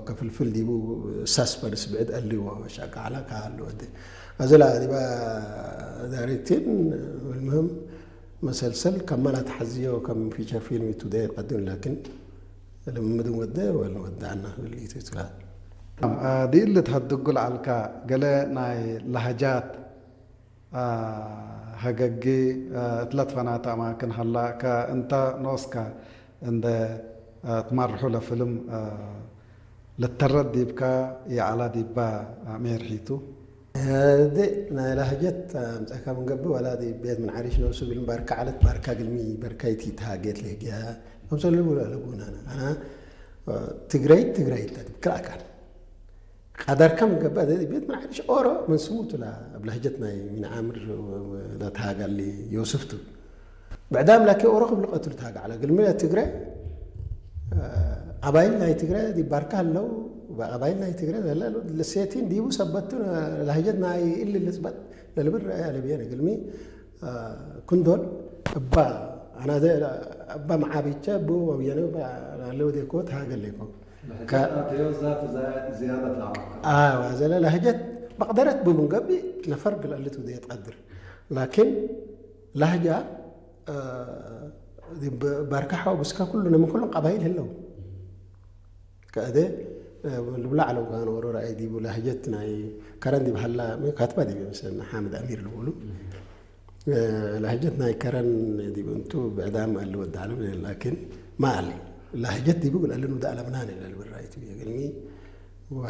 ከፍልፍል ዲቡ ሳስፐንስ ብዕድ ኣልዎ ሻቃዕላ ካሉ ወዲ ኣዘላ ዲባ ዳይሬክቲን ምልምህም መሰልሰል ከማላ ተሓዝዮ ከም ፊቸር ፊልም ቱ ደይ ቀድም ላኪን ልምምድን ወደ ወልወዳና ብልይቱ ይትላል ዲል ልትሀድጉ ለዓልካ ገለ ናይ ላህጃት ሀገጊ እትለትፈናተ ኣማክን ሀላ ከእንተ ኖስከ እንደ ትመርሑ ለፍልም ልተረድ ዲብካ የዓላ ዲባ ሜርሒቱ ድ ናይ ላህጀት ኣምፀካ ምንገብእ ዋላ ቤት ምን ዓሪሽ ነብሱ ግልም ባርካ ዓለት ባርካ ግልሚ በርካይቲ ተሃጌት ለህጊያ ከምሰሉ ለቡና ኣና ትግራይ ትግራይ ክልኣካል ቀደርከም ገባ ቤት ምን ዓሪሽ ኦሮ ምን ስሙ ትላ ኣብ ላህጀት ናይ ምን ዓምር ለተሃጋሊ ዮስፍቱ ብዕዳም ላኪ ኦሮ ክብልቀቱ ልተሃጋ ዓላ ግልሚ ትግራይ ቀባይል ናይ ትግራይ ዲባርካ ኣለው ቀባይል ናይ ትግራይ ለሴቲን ዲቡ ሰበቱ ላህጀት ናይ እሊ ልፅበጥ ለልብር ረአያ ለብየ ግልሚ ኩንዶል እባ ኣና እባ መዓቢቸ ብ ወብየነ ኣለወ ዴኮ ተሃገሌኮ ዝያዳ ዘለ ላህጀት መቅደረት ብሙንገቢ ነፈር ግልአልት ውደ የትቀድር ላኪን ላህጃ ባርካ ሓው ብስካ ኩሉ ነምን ኩሎም ቀባይል ህለው ከእደ ልብላ ዓለው ጋኖሮ ረኣይ ዲቡ ላህጀት ናይ ከረን ዲብ ሃላ ካትባ ዲብ መሰለና ሓምድ ኣሚር ልብሉ ላህጀት ናይ ከረን ዲብ እንቱ ብዕዳም ኣለ ወዳዕለም ላኪን ማኣሊ ላህጀት ዲቡ ግን ኣለን ወዳ ኣለምናን ለልብል ራይት ግልሚ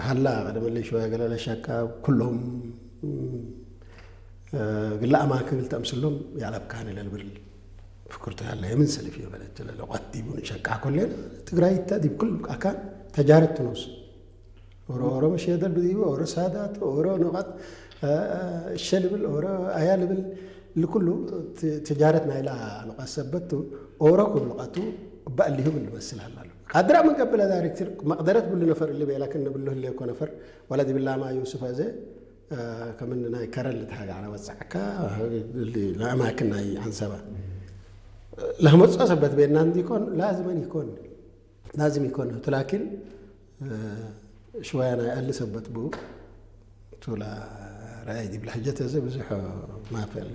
ሃላ ቀደመለይ ሸወያ ገለ ለሻካ ኩሎም ግላ ኣማክብል ተምስሎም ያለብካን ለልብል ፍክርቱ ያለ የምን ሰልፍ የበለት ለቆት ዲቡ ንሸቃ ኮሌን ትግራይ ተ ዲብ ኩል ኣካን ተጃረት ትኖስ ኦሮ ኦሮ መሸደል ብዲቡ ኦሮ ሳዳት ኦሮ ንቃት እሸ ልብል ኦሮ ኣያ ልብል ልኩሉ ትጃረት ናይላ ንቃት ሰበቱ ኦሮ ክብልቃቱ ባእሊሁ ብል መስል ሃላሉ ካድራ ምን ቀብለ ዳይሬክተር መቅደረት ብሉ ነፈር እሊ ቤላ ክን ብሉ ህለ ኮ ነፈር ወላ ዲብላማ ዩሱፍ ኣዘ ከምን ናይ ከረን ልትሃጋ ዓላ ወጻዕካ ለኣማክን ናይ ዓንሰባ ለህመጾ ሰበት ቤና እንዲኮን ላዝመን ይኮን ላዝም ይኮን ላኪን ሽወያ ናይ ኣሊ ሰበት ብኡ ቱላ ራእይ ዲብላ ሕጀት እዚ ብዙሕ ማፈል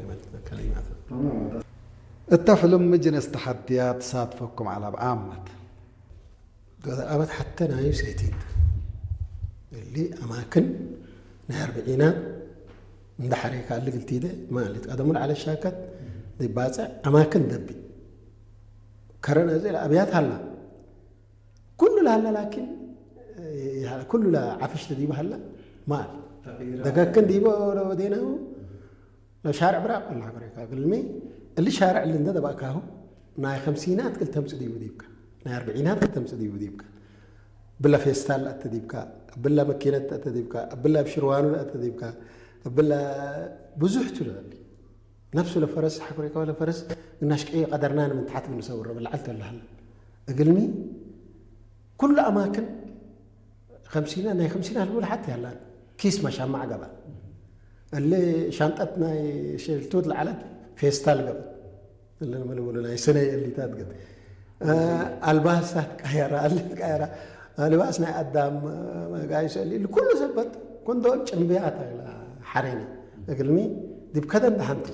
ከሊማት እታ ፍልም ምጅነስ ተሓድያ ተሳትፈኩም ዓላ ብዓመት ኣበት ሓተ ናይ ሴቲንግ እሊ ኣማክን ናይ ኣርብዒና እንዳሓረ ካልግልቲ ኢለ ማለት ቀደሙ ለዓለ ሻከት ባፅዕ ኣማክን ደቢ ከረን እዚ ኣብያት ሃላ ኩሉ ለሃላ ላኪን ኩሉ ለዓፍሽ ተዲቡ ሃላ ማል ደገክን ዲቦ ወዴናሁ ሻርዕ ብራቅ ኣላ ግሬካ ግልሚ እሊ ሻርዕ ልንደ ደባእካሁ ናይ ከምሲናት ክልተምፅ ዲቡ ዲብካ ናይ ኣርብዒናት ክልተምፅ ዲቡ ዲብካ ብላ ፌስታል ኣተ ዲብካ ብላ መኪነት ኣተ ዲብካ ብላ ብሽርዋኑ ኣተ ዲብካ ብላ ብዙሕ ትልበል ነፍሱ ለፈረስ ሓኩሬካ ለፈረስ እናሽቀየ ቀደርና ንምንታሓት ብንሰውሮ ብላዓል ተላሃለ እግልሚ ኩሉ ኣማክን ከምሲና ናይ ከምሲና ህልቡ ለሓት ያላን ኪስ መሻማዕ ገባ እለ ሻንጠት ናይ ሸልቱት ለዓለት ፌስታል ገባ እለ መለወሉ ናይ ሰነይ እሊታት ገብ ኣልባሳት ቀየራ ኣለት ቀየራ ኣልባስ ናይ ኣዳም መጋይሶ እሊ ኩሉ ሰበት ኩንዶል ጭንብያት ሓሬና እግልሚ ዲብ ከደም ደሓንቲ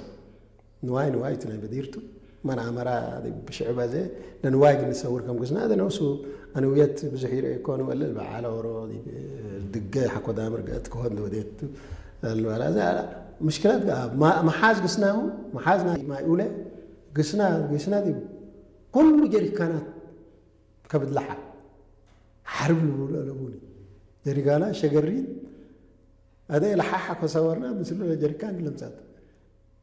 ንዋይ ንዋይ እቲ ናይ በዲርቱ መን ኣመራ ብሽዕበ ዘ ለንዋይ ግን ዝሰውር ከም ግዝና እደ ነብሱ ኣንውየት ብዙሕ ይርእ ይኮን ወለ በዓለ ኦሮ ድገ ሓኮዳ ምርገት ክሆን ወዴት ለበላ እዛ ምሽክላት መሓዝ ግስናሁ መሓዝ ናይ ማይ ኡለ ግስና ግስና ዲቡ ኩሉ ጀሪካናት ከብድላሓ ሓርብ ልብሉ ኣለቡኒ ጀሪካና ሸገሪት ኣደ ለሓሓ ኮሰወርና ምስሉ ለጀሪካን ለምጻት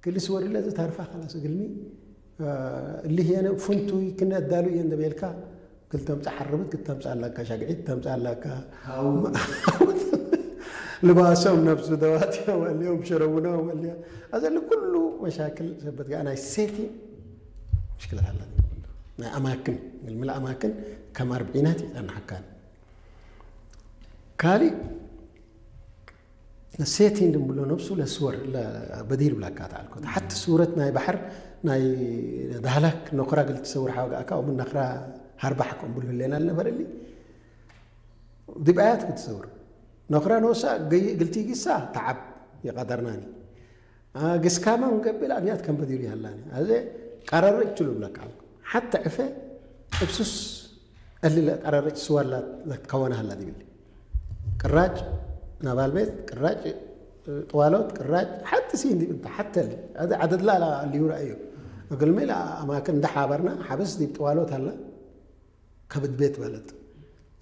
ክልስ ወርለ እዚ ታርፋ ከላስ እግልሚ እሊ ህየነ ፍንቱይ ክነዳሉ እየ እንደቤልካ ክልተምፃ ሓርብት ክተምፃ ኣለካ ሻግዒት ተምፃ ኣለካ ልባሶም ነብሱ ደዋትዮ ወልዮም ሸረቡኖ ወልዮ ኣዘሊ ኩሉ መሻክል ሰበት ጋር ናይ ሴቲ ምሽክለት ኣላ ናይ ኣማክን ግልሚ ኣማክን ከም ኣርብዒናት ይፀናሓካን ካሊእ ሴቲንግ እንብሎ ነብሱ ለስወር በዲር ብላካ ተዓልኮ ሓቲ ስውረት ናይ ባሕር ናይ ዳህላክ ነኩራ ግልቲ ሰውር ሓወጋእካ ኦምን ነክራ ሃርባሕ ከምብሉ ህሌና ልነበረሊ ዲብ ኣያት ክትሰውር ነኽራ ንወሳ ገይ-፣ ግልቲ ጊሳ ተዓብ ይቐደርናኒ። አ፣ ግስካማ ንገብእ ኣብያት ከም በዲሩ ይሃላኒ። ኣዘ ቀረርጭ ትብለካ። ሓተ ዕፈ እብሱስ እልለ ቀረርጭ ስዋላ ለትከወነ ሃላ ዲብል። ቅራጭ ናባል ቤት፣ ቅራጭ ጥዋሎት፣ ቅራጭ ሓቲ ሲን ዲብ እንተ ሓተል። ኣዘ ዓደድላ ላ ሊውራ እዩ። እግልሜ ላ ኣማክን እንደ ሓበርና ሓበስ ዲብ ጥዋሎት ሃላ ከብድ ቤት ማለት።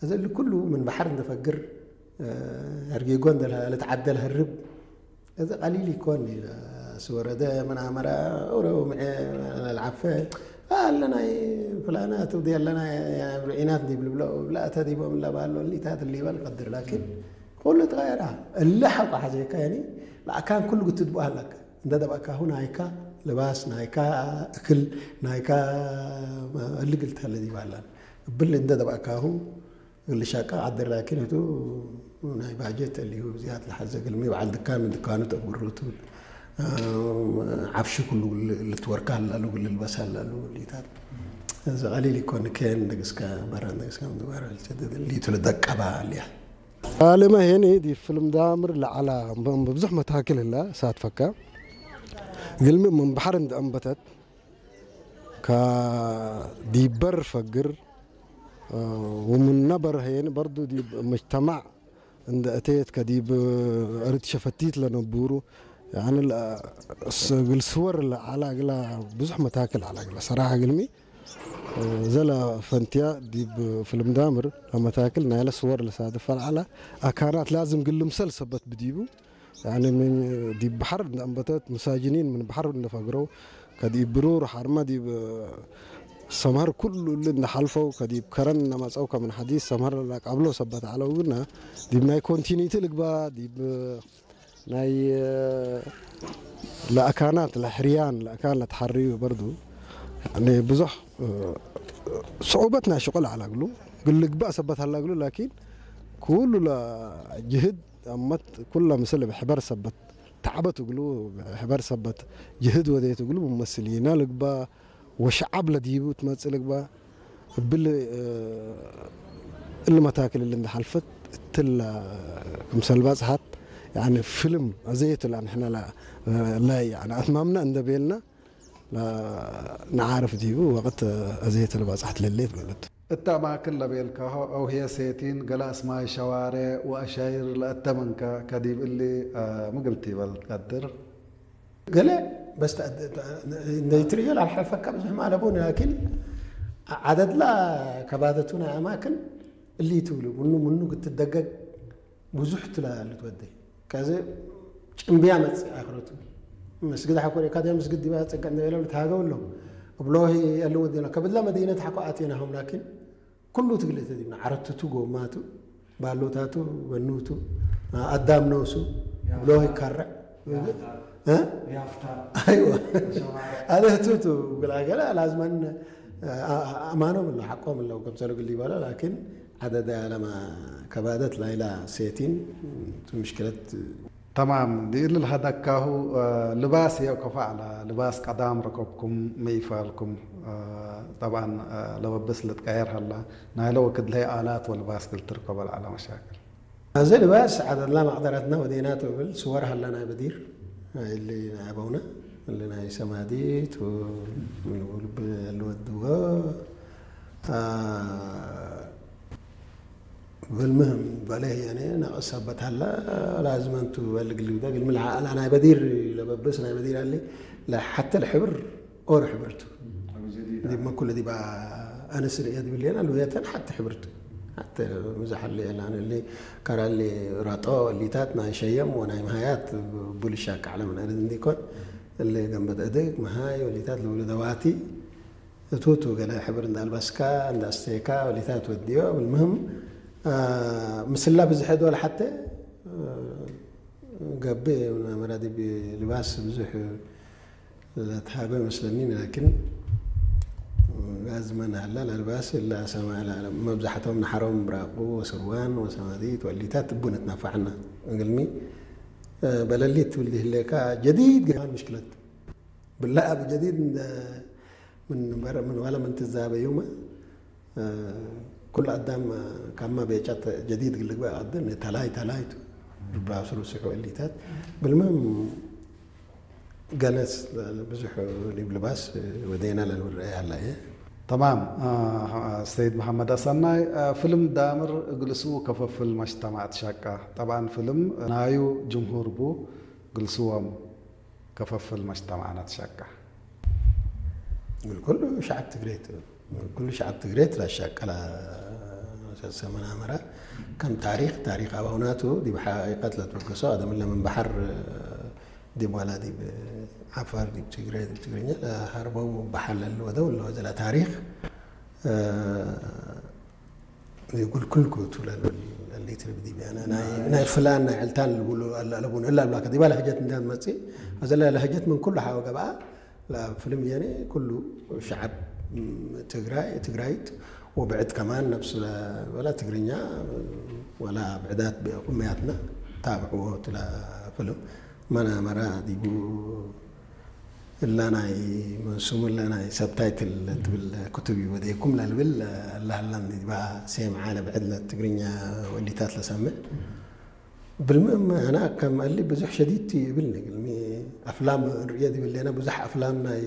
እዚ ኩሉ ምን ባሕር እንተፈግር፣ እ፣ ኣርጊጎ እንደ ልትዓደል ህርብ፣ እዚ ቀሊል ይኮን እዩ። ስወረደ ምናመራ፣ ኦሮ ምዐ፣ ልዓፈ፣ ኣለና ፍላና ትብዲ ኣለና ርዒናት እንዲብል ብሎ፣ ብላእተ ዲቦም እላ ባሎ፣ ሊታት ሊበል ቀድር፣ ላኪን ኩሉ ተቐየራ። እለ ሓቋ ሓዘካ፣ ያኒ፣ ለኣካን ኩሉ ክትድቡ ኣለካ። እንደ ደባካሁ ናይካ ልባስ፣ ናይካ እክል፣ ናይካ እልግልታ ለዲባላን። እብል እንደ ደባካሁ ግልሻቃ ዓደር ላኪን እቱ ናይ ባጀት እልዩ ዝያት ለሓዘ ግልሚ በዓል ድካን ድካኑ ተብሩቱ ዓፍሹ ኩሉ ልትወርካ ኣላሉ ልልበስ ኣላሉ ሊታት እዚ ቀሊል ይኮን ከን ደግስካ በራ ደግስካ ምዝባር ሊቱ ልደቀባ ኣልያ። ዓለማ ሄኒ ዲ ፍልም ዳምር ለዓላ ብብዙሕ መታክል ህላ ሳትፈካ ግልሚ ምን ባሕር እንደ ኣንበተት ከዲበር ፈግር፣ እ፣ ወምን ነበር ሄን በርዱ ዲብ መጅተማዕ እንደ እቴት ከዲብ እርድ ሸፈቲት ለነቡሩ፣ ያኒ ለ-፣ ስ-፣ ግል ስወር ለዓላ ግላ ብዙሕ መታክል ዓላ ግላ ሰራሓ ግልሚ፣ እ፣ ዘለ ፈንትያ ዲብ ፍልም ዳምር ለመታክል ናይለ ስወር ለሳድፈ ለዓላ ኣካናት ላዝም ግል ምሰል ሰበት ብዲቡ፣ ያኒ ምን ዲብ ባሕር እንደ ኣንበተት፣ መሳጅኒን ምን ባሕር እንደ ፈግረው፣ ከዲብ ብሩር ሓርማ ዲብ ሰምሀር ኩሉ እሊ እንደ ሓልፈው፣ ከዲብ ከረን እንደ መጸው፣ ከምን ሐዲስ ሰምሀር ላቃብሎ ሰበት ዓለው ግና፣ ዲብ ናይ ኮንቲኒቲ ልግባ፣ ዲብ ናይ ለኣካናት ለሕርያን ለኣካን ለተሓርዩ በርዱ፣ ያኒ ብዙሕ፣ እ፣ ስዑበት ናይ ሽቁል ዓላግሉ፣ ግልግባእ ሰበት ሃላግሉ፣ ላኪን ኩሉ ለጅህድ ኣመት ኩላ ምስል ብሕበር ሰበት ተዕበት እግሉ፣ ብሕበር ሰበት ጅህድ ወደየት እግሉ፣ ብመስል ኢና ልግባ፣ ወሸዓብ ለዲቡ ትመጽእ ልግባ፣ እብል፣ እ፣ እሊ መታክል እሊ እንደሓልፈት እትላ ክምሰል ባጽሓት፣ ያኒ ፍልም ኣዘየትላ ንሕና ላ፣ ላ፣ ያኒ ኣትማምና እንደቤልና፣ ላ፣ ንዓርፍ ዲቡ ወቅት ኣዘየትል ባጽሓት ለሌት ማለት። እታ ማክል ለቤልካሆ፣ አውሄ ሴቲን፣ ገላ እስማይ ሸዋሬ ወአሻይር ለአተመንከ ከዲብ እሊ፣ አ፣ ምግልቲ ይበል ትቀድር። ገለ በስ ተ-፣ ተ-፣ እንደ ትርእዮ ላልሐልፈካ ብዙሕ ማለቡ፣ ላኪን ዓደድላ ከባደቱ ናይ ኣማክን እሊ ትብሉ፣ ምኑ፣ ምኑ ክትደገግ ብዙሕ ትላ ልትወደይ። ከዚ ጭምብያ መጽእ ኣኽረቱ። መስጊድ ሓኮር ካደ መስጊድ ዲባ ጸጋ እንደ ቤለው ልትሃገው ለው። እብሎ ያለው ወዲና ከብላ መዲነት ሓኮ ኣቴና ሆም ላኪን ኩሉ ትግል ተዲብና ዓረትቱ ጎማቱ ባሎታቱ ወኑቱ ኣዳም ነውሱ ብሎ ይካረዕ። እ? ያፍታ። ኣይዋ። ሸዋርዕ። ኣደህቱቱ ግላገላ ላዝመን ኣማኖም ኣሎ ሓቆም ኣለዉ ከምሰሉ ግል ይበሎ ላኪን ዓደደ ኣለማ ከባደት ላይላ ሴቲን ምሽክለት ተማም። ዲእሊ ለሀደካሁ ልባስ የእኮ ፈዕላ ልባስ ቀዳም ረከብኩም መይፋልኩም ጠብዓን ለበብስ ልትቀየር ሀላ ናይለ ወክድ ለይ ኣላት ወልባስ ክልትርከቦ ለዐለ መሻክል። እዚ ልባስ ዓደድላ መቅደረትና ወዴና ትብል ስወር ሀላ ናይ በዲር እሊ ናይ ኣበውነ እሊ ናይ ሰማዲት ልወድዎ ብልምህም በለህ የኔ ነቅስ ሰበት ሀላ ላዝመንቱ በልግሊ ብዳ ግልሚ ለዓላ ናይ በዲር ለበብስ ናይ በዲር ኣሊ ለሐተ ለሕብር ኦር ሕብርቱ ዲብ መኩለ ዲባ ኣነስ ርእየ ዲብል የና ልውየተን ሐተ ሕብርቱ ሐተ ምዛሐለ የና እሊ ከራሊ ራጦ እሊታት ናይ ሸየም ወናይ መሃያት ቡልሻ ቃዕለ ምን ኣደት እንዲኮን እሊ ገንበት እድግ መሃይ ወሊታት ልውለ ደዋቲ እቱቱ ገለ ሕብር እንዳልበስካ እንዳስተየካ ወሊታት ወዲዮ ብልምህም ምስላ ብዝሐ ዶል ሐተ ገብእ መራዲብ ልባስ ብዙሕ ለትሃጎ ይመስለኒ ላኪን ጋዝመን ሀላ ለልባስ እላ ሰማ መብዛሕቶም ንሓሮም ብራቁ ወስርዋን ወሰማዲት ወሊታት እቡን እትነፋዕና እግልሚ በለሊት ትብል ዲህሌካ ጀዲድ ገማን ምሽክለት ብላ ኣብ ጀዲድ ምን በር ምን ዋላ ምን ትዛበዩማ ኩሉ ኣዳም ካማ ቤጫት ጀዲድ ግልግባ ኣደን ተላይ ተላይቱ ብራሱ ርስሑ እሊታት ብልምም ገለስ ብዙሕ ሊብልባስ ወደና ለልብረያ ኣላ እየ። تمام. آه، السيد محمد الصناي، آه، فيلم دامر جلسوا كففل مجتمع تشكا. طبعا فيلم نايو جمهور بو جلسوهم كففل مجتمعنا تشكا. ኩሉ ሸዓብ ትግሬት ኩሉ ሸዓብ ትግሬት ላሻቀላ ሰመናመራ ከም ታሪክ ታሪክ ኣባውናቱ ዲብ ሓቂቀት ለትበገሶ ኣደምለ ምን ባሕር ዲብ ዋላ ዲብ ዓፋር ዲብ ትግሬ ዲብ ትግርኛ ለሃርቦም ባሓለል ወደው ለወዘላ ታሪክ እ፣ ይጉል ኩልኩ ትብለሉ ሊትር ብዲብ ያነ ናይ ናይ ፍላን ናይ ዕልታን ልብሉ ኣለቡን እላ ብላከ ዲባ ለህጀት እንዳ መጽእ ኣዘላ ለህጀት ምን ኩሉ ሓወ ገብኣ ላ ፍልም የኔ ኩሉ ሸዓብ ትግራይ ትግራይት ወብዕድ ከማን ነብስ ወላ ትግርኛ ወላ ብዕዳት ቁመያትና ታብዕዎ ትላ ፍልም መናመራ ዲቡ እላ ናይ መንሱም እላ ናይ ሰብታይትል ትብል ክትብ እዩ ወደይኩም ለልብል ኣላህላን ዲባ ሴም ዓለ ብዕድ ለትግርኛ ወሊታት ለሰምዕ ብልምም ኣና ከም ኣሊ ብዙሕ ሸዲድ ይብል ንግልሚ ኣፍላም ንርእዮ ዲብል ሌና ብዙሕ ኣፍላም ናይ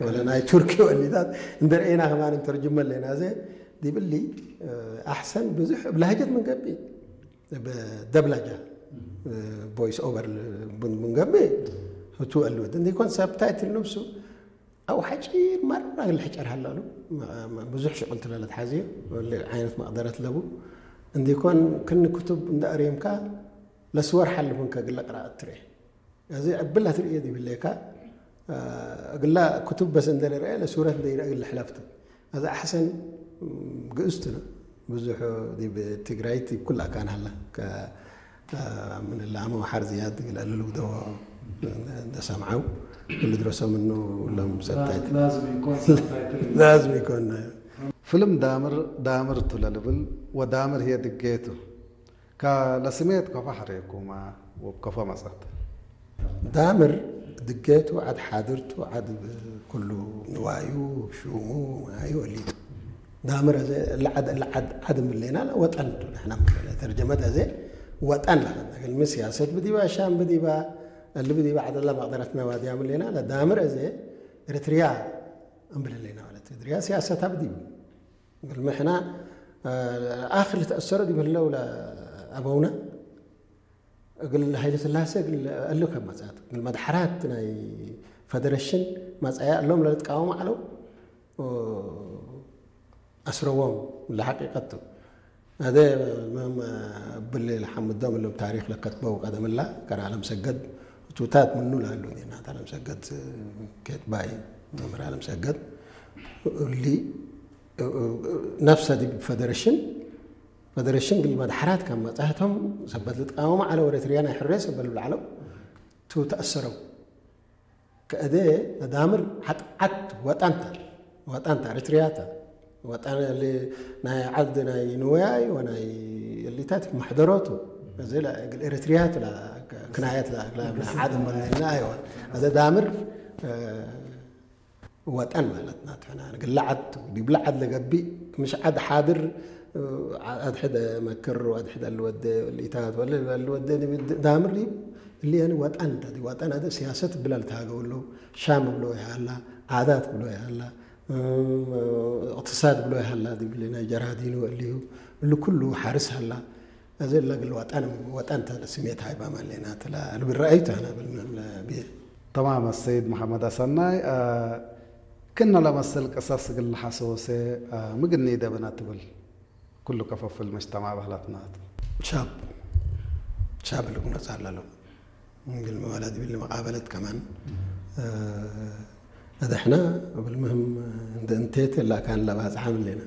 ወለ ናይ ቱርኪ ወሊታት እንደርእና ከማን እንተርጅመ ሌና ዘ ዲብሊ ኣሕሰን ብዙሕ ብላህጀት ምንገቢ ደብላጃ ቮይስ ኦቨር ምንገቢ ህቱ ኣልወት እንዲኮን ሰብታይትል ነብሱ ኣብ ሓጪር ማራ ግል ሕጨር ሃላሉ ብዙሕ ሽቁል ትለለት ሓዚዮ ዓይነት መቅደረት ለቡ እንዲኮን ክን ክቱብ እንዳ ኣርየምካ ለስወር ሓልፉን ከግለ ቅራኣት ትርኤ እዚ ዕብላ ትርእዮ ዲብለካ እግላ ክቱብ በስ እንደረአ ለሱረት እንደይረአ ግለ ሕለፍት እዚ ኣሕሰን ግእስትና ብዙሕ ዲብ ትግራይት ዲብ ኩላ ካን ሃላ ምን ላሞ ሓር ዝያድ ግለ ልውደዎ እንደሰምዓው ክልድረሶ ምኑ ሎም ሰብታይት ላዝም ይኮን ፍልም ዳምር ዳምር ቱ ለልብል ወዳምር ህየ ድጌቱ ካ ለስሜት ከፎ ሓሬኩማ ወብ ከፎ መጸት ዳምር ድጌቱ ዓድ ሓድርቱ ዓድ ኩሉ ንዋዩ ሹሙ ማዩ ወሊቱ ዳምር ዓድ ምሌና ወጠን ንሕና ተርጀመት ኣዘ ወጠን ለና ግን ስያሰት ብዲባ ሻም ብዲባ እሊ ብዲባ ዓደላ መቅደረትና ዋድያ ምሌና ዳምር ኣዘ ኤርትርያ እንብለለና ማለት ኤርትርያ ስያሰታ ብዲቡ ግልሚ ሕና ኣኽሊ ተእሰሮ ዲብ ህለው ኣበውና እግል ሃይለ ስላሴ እግል እሉ ከም መጻት እግል መድሓራት ናይ ፈደረሽን መጻያ እሎም ለልትቃወሙ ዓለው ኣስረዎም ለሓቂቀቱ ኣደ ብል ለሓምዶም እሎም ታሪክ ለከትበው ቀደምላ ከራ ዓለም ሰገድ እቱታት ምኑ ላሉ ናት ዓለም ሰገድ ኬትባይ መምህር ዓለም ሰገድ እሊ ነፍሰ ዲብ ፈደረሽን ፈደረሽን ግል መድሓራት ካብ መጻህቶም ሰበት ልትቃወሙ ዓለ ወደ ትርያ ናይ ሕሬ ሰበት ልብልዓለው ቱ ተኣሰረው ከእደ ተዳምር ዓጥዓት ወጣንታ ወጣንታ ርትርያታ ወጣን ናይ ዓድ ናይ ንወያይ ወናይ እሊታት መሕደሮቱ እዚ ግል ኤርትርያት ክናየት ዓድ መለና ኣይዋ ኣዘ ዳምር ወጠን ማለት ናት ሕና ግለ ዓድ ዲብለ ዓድ ለገቢእ ምሽ ዓድ ሓድር ኣድሕደ መክር ኣድሕደ ልወደ ልኢታት ወለ ልወደ ዳምር ዲብ እሊ ያኒ ወጠን ዲ ወጠን ኣደ ሲያሰት ብላ ልታገው ሎ ሻም ብሎ ይሃላ ዓዳት ብሎ ይሃላ እቅትሳድ ብሎ ይሃላ ዲብሊ ናይ ጀራዲኑ እልዩ እሉ ኩሉ ሓርስ ሃላ እዚ ለግል ወጠን ወጠን ተለ ስሜት ሃይባ ማለና ተላ ልብል ረአይቱ ሃና ብል ብየ تمام السيد محمد السناي آه، كنا لمسل قصص قل حسوسة آه، مقني دبنا تبل كل كفف المجتمع بهلاتنا ሻብ ሻብ ልቁነጽ ኣለሎ ግል መዋላ ዲብል መቃበለት ከማን ኣደሕና ብልምህም እንደ እንቴት ላ ካን ለባጽሓ ምሌና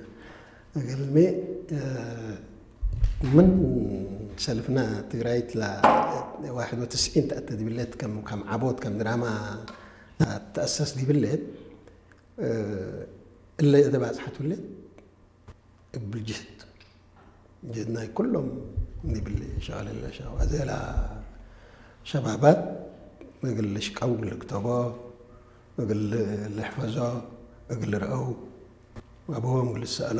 ግልሜ ምን ሰልፍና ትግራይት ላ ዋሕድ ወትስዒን ተእተ ዲብለት ከም ከም ዓቦት ከም ድራማ ተኣሰስ ዲብለት እለ እተባጽሓት ብለት እብል ጅህድ ጅህድ ናይ ኩሎም ዲብል ሸቀለለ ሸዋ ዘላ ሸባባት እግል ልሽቀው እግል ልክተቦ እግል ልሕፈዞ እግል ልርአው ኣበዎም እግል ልሰእሎ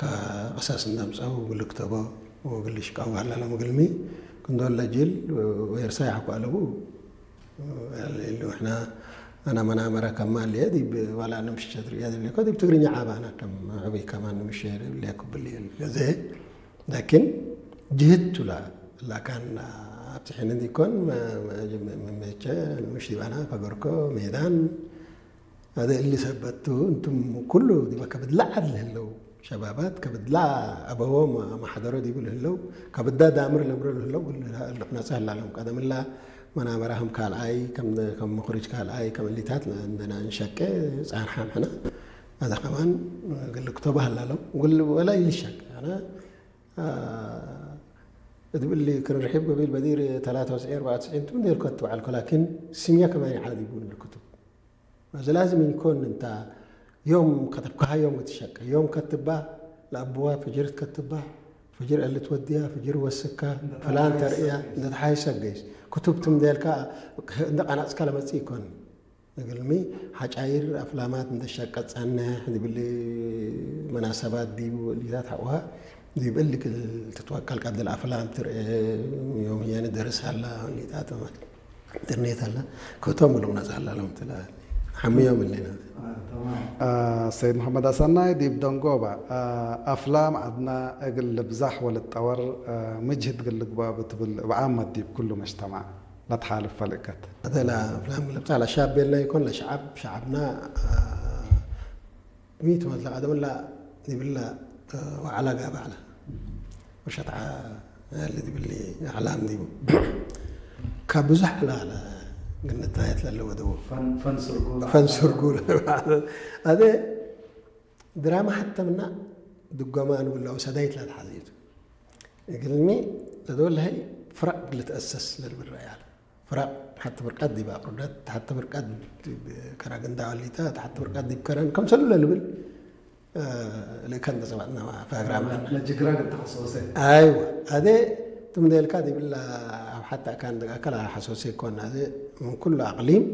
ከቐሳስ እንዳምጻው ግልክተቦ ወግልሽ ቃው ሃላሎም ግልሚ ክንዶለ ጅል ወየርሳይ ሓኳ ኣለቡ ያለ ኢሉ ሕና ኣና መናመራ ከማ ልየ ዲብ ዋላ ንምሽሸት ርእያ ዝብልኮ ዲብ ትግርኛ ዓባና ከም ዕብይ ከማን ንምሸ ልየ ክብል እየ። ገዘ ላኪን ጅህት ቱላ ላካን ኣብቲ ሕነ ዲኮን መመቸ ንምሽ ዲባና ፈገርኮ ሜዳን هذا اللي ሰበቱ እንቱም ኩሉ ዲበ ከብድ ለዓል ህለው ሸባባት ከብድላ ኣበዎም ማሕደሮ ዲቡ ልህለው ከብዳ ዳምር ለምሮ ልህለው ልቕነጸ ህላሎም ቀደምላ መናመራህም ካልኣይ ከም ከም ምኽሪጅ ካልኣይ ከም እሊታት እንደና እንሸቀ ጻርሓም ሕና هذا ከማን ግል ክቶባ ህላሎም ግል ወላ ይልሸቅ ኣነ እድብሊ ክርርሒብ ገቢል በዲር ተላታ ወስዒ ኣርባዓ ወስዒ እንቱም ኔርኮ ትበዓልኮ ላኪን ስምያ ከማን ይዓል ዲቡ ንልክቱ እዚ ላዝም ይንኮን እንታ ዮም ከተብካሃዮም ክትሸቀ ዮም ከትባ ለኣብዋ ፍጅርት ከትባ ፍጅር እልት ወድያ ፍጅር ወስካ ፍላን ተርእያ እንደተሓይሰ ገይስ ክትብትም ደልካ እንደ ቃናጽካ ለመጽእ ይኮን እግልሚ ሓጫይር ኣፍላማት እንደሸቀ ጸንሕ ዝብል መናሰባት ዲቡ እልታት ሓውሃ ዲብ እልክ ትትወቀል ቀድል ኣፍላም ትርአ ዮም ህያኒ ደርስ ሃላ እልታት ኢንተርኔት ኣላ ክእቶም ብሉቕ ነጻ ኣላ ሎም ትላ ሓምዮም ኣለና ሰይድ መሓመድ ኣሰናይ ዲብ ደንጎባ ኣፍላም ዓድና እግል ልብዛሕ ወልጠወር ምጅህድ ግል ልግባ ብትብል ብዓመት ዲብ ኩሉ መጅተማዕ ለትሓልፍ ፈልእከት ኣደላ ፍላም ለብታ ለሻብ ቤልና ይኮን ለሸዓብ ሸዓብና ሚት መዝለ ቀደምላ ይብላ ወዓላ ጋባዕላ ወሸትዓ ያለ ዲብሊ ኣዕላም ዲቡ ካብ ብዙሕ ዕላለ ግንታየት ለለወ ደዎ ፈንስርጉ ፈንስርጉ ኣደ ድራማ ሓተምና ድጎማ ንብላው ሰዳይት ላ ተሓዘይቱ እግልሚ ለደወለሀይ ፍራቅ ልትኣሰስ ለልብል ረኣያ ፍራቅ ሓቲ ብርቀት ዲብ ኣቅርደት ሓቲ ብርቀት ከራግንዳ ወሊታ ሓቲ ብርቀት ዲብ ከረን ከምሰሉ ለልብል ልእከን ተሰባጥና ፕሮግራም ለጅግራ ግን ተኸሰሰ ኣይዋ ኣደ ትምደልካ ዲብላ ኣብ ሓታ ካን ደቃከል ሓሶሰ ይኮን ኣደ ምን ኩሉ ኣቅሊም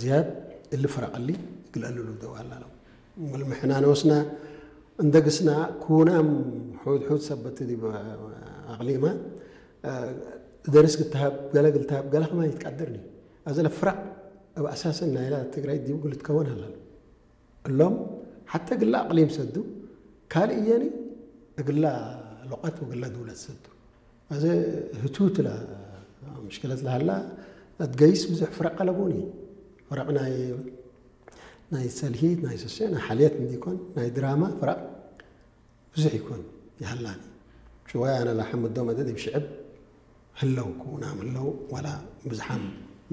ዝያድ እሊ ፍራቅ እሊ ግልአልሉ ደው ኣላሎም ምልምሕና ንወስና እንደግስና ኩናም ሑድ ሑድ ሰበት ዲብ ኣቅሊማ ደርስ ግትሃብ ገለ ግልትሃብ ገለ ከማን ይትቃደርኒ ኣዘለ ፍራቅ ኣብ ኣሳሰን ናይላ ትግራይ ዲቡ ግልትከወን ኣላሎ እሎም ሓተ ግላ ኣቕሊም ሰዱ ካልእ እየኒ እግላ ሎቐት ወግላ ድውለት ሰዱ ኣዘ ህቱት ላ ምሽክለት ላሃላ ኣትገይስ ብዙሕ ፍረቕ ኣለቦኒ ፍረቕ ናይ ናይ ሰልሂት ናይ ሰሴ ናይ ሓልየት እንዲኮን ናይ ድራማ ፍረቕ ብዙሕ ይኮን ይሃላኒ ሽዋይ ኣነ ላሓምዶ መደድ ይብሽዕብ ህለው ክውናም ህለው ዋላ ብዝሓም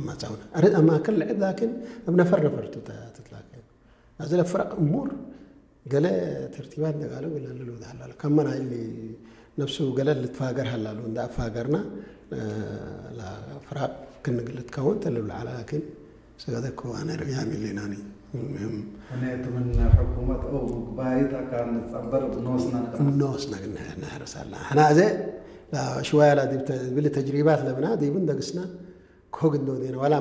ማጻውና ኣረ ኣማከል ልዕብ ላኪን ኣብ ነፈር ነፈር ትትላከ ኣዝለ ፍረቕ እሙር ገለ ተርቲባት እንደጋሉ ገለ ልሉ ሃላሉ ከመን ኣይሊ ነፍሱ ገለ ልትፋገር ሃላሉ እንዳ ኣፋገርና ፍራቅ ክንግል ትከውን ተልብል ዓላ ላኪን ስጋደ እኮ ኣነ ርእያ ሚሊናኒ እኔትምን ሕኩመት ኦ ምግባይት ኣካ ንጸበር ብኖስና ንቀ ኖስና ግን ነህረሳላ ሕና እዘ ሽዋያላ ብሊ ተጅሪባት ለብና ዲብን ደግስና ኮግ እንዶ ዴና ዋላ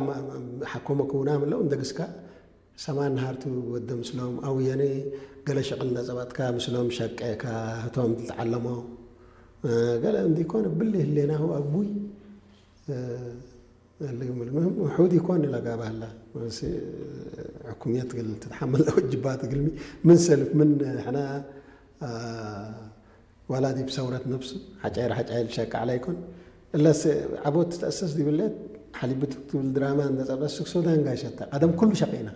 ሓኮመ ክውና ምለው እንደግስካ ሰማን ነሃርቱ ወደ ምስሎም ኣውየነ ገለ ሸቕል ነጸባጥካ ምስሎም ሸቀካ ህቶም ትተዓለሞ ገለ እንዲኮን ብሊ ህሌናሁ ኣጉይ ልግምል ምህም ውሑድ ይኮን ኢላ ጋባህላ ሕኩምየት ግል ትትሓመል ወጅባት ግልሚ ምን ሰልፍ ምን ሕና ዋላ ዲብ ሰውረት ነብሱ ሓጫይር ሓጫይር ሸቃዕላ ይኮን እለስ ዓቦት ትተእሰስ ዲብለት ሓሊብት ትብል ድራማ እንደጸበስ ስክሶ ዳንጋይ ሸታ ቀደም ኩሉ ሸቂና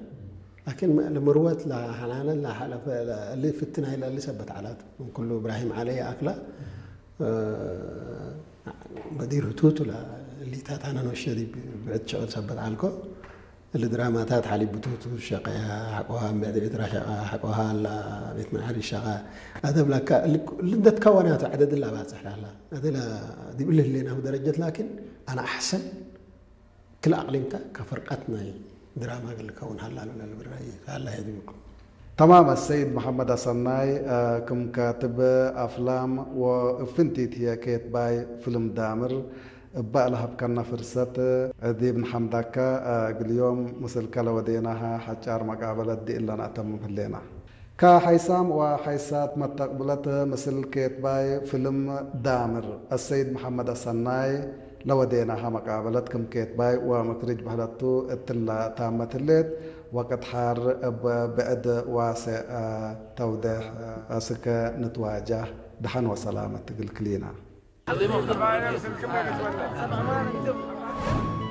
ላኪን ለምርወት ለሓናነ ለሓለፈ ለእሊ ፍትን ኣይለ እሊ ሰበት ዓላት ምን ኩሉ እብራሂም ዓለይ ኣክላ በዲር ህቱቱ እሊታት ኣነ ነሸ ዲብ ብዕድ ሸቕል ሰበት ዓልኮ እሊ ድራማታት ሓሊብ ብትውቱ ሸቀያ ሓቆሃ እምብዕድ ዕትራ ሸቃ ሓቆሃ ኣላ ቤት መድሓኒ ሸቃ ኣደብላካ ልደትካ ዋናቱ ዓደድላ ባጽሕ ላላ ኣደላ ዲብ እሊ ህሌናሁ ደረጀት ላኪን ኣነ ኣሕሰን ክል ኣቅሊምካ ከፍርቀት ናይ ድራማ ግልከውን ሃላሉ ለልብራይ ሃላ ሄድብኩም تمام السيد محمد الصناي ክም ካትብ ኣፍላም ወእፍንቲት ህየ ኬት ባይ ፍልም ዳምር እባ ለሀብከና ፍርሰት ዲብ ንሐምዳካ እግልዮም ምስልከ ለወዴናሃ ሐጫር መቃበለት ዲእለ ነአተምም ህሌና። ከሓይሳም ወሓይሳት መተቅብለት ምስል ኬትባይ ፍልም ዳምር አሰይድ መሐመድ አሰናይ ለወዴናሃ መቃበለት ክም ኬትባይ ወምክርጅ በህለቱ እትላ ታመት ህሌት ወቅት ሓር እብ ብዕድ ዋሴ ተውደሕ እስከ ንትዋጃህ ደሐን ወሰላመት ትግልክሊና።